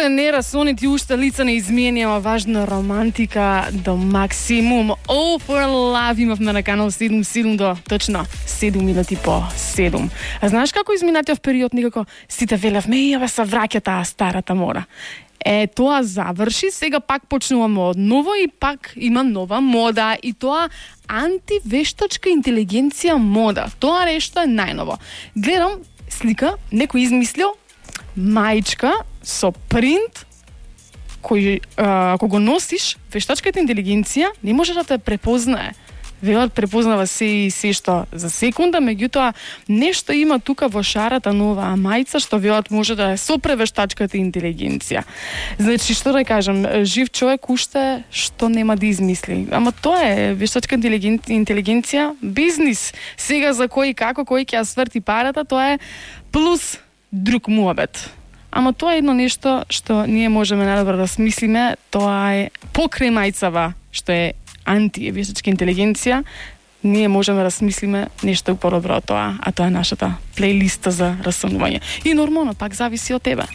не расонити уште лица не изменија, важна романтика до максимум. All for Love имавме на канал 77 до точно 7 минути по 7. А знаеш како изминатиот период никако сите велевме, еве се враќа таа старата мода. Тоа заврши, сега пак почнуваме од ново и пак има нова мода и тоа антивештачка интелигенција мода. Тоа нешто е најново. Гледам слика, некој измислил маичка со принт кој ако го носиш, вештачката интелигенција не може да те препознае. Велат препознава се и се што за секунда, меѓутоа нешто има тука во шарата на оваа мајца што велат може да е со превештачката интелигенција. Значи што да кажам, жив човек уште што нема да измисли. Ама тоа е вештачка интелигенција, бизнис. Сега за кој како кој ќе ја сврти парата, тоа е плюс друг муабет. Ама тоа е едно нешто што ние можеме најдобро да смислиме, тоа е покрај мајцава што е антивештачка интелигенција, ние можеме да смислиме нешто подобро од тоа, а тоа е нашата плейлиста за расонување. И нормално, пак зависи од тебе.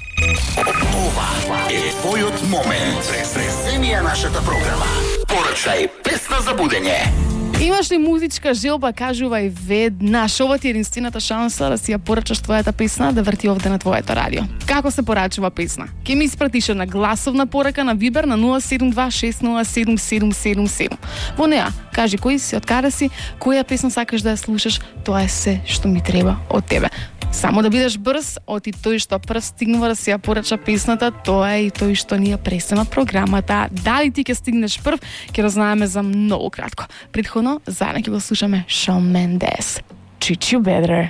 Ова е твојот момент. Преземија нашата програма. Порачај песна за будење. Имаш ли музичка желба, кажувај веднаш. Ова ти е единствената шанса да си ја порачаш твојата песна да врти овде на твоето радио. Како се порачува песна? Ке ми испратиш на гласовна порака на Viber на 072607777. Во неа, кажи кој си, од каде си, која песна сакаш да ја слушаш, тоа е се што ми треба од тебе. Само да бидеш брз, оти тој што прв стигнува да си ја порача песната, тоа е и тој што ни ја пресема програмата. Дали ти ќе стигнеш прв, ќе разнаеме за многу кратко. Претходно, заедно ќе го слушаме Shawn Mendes. Treat You Better.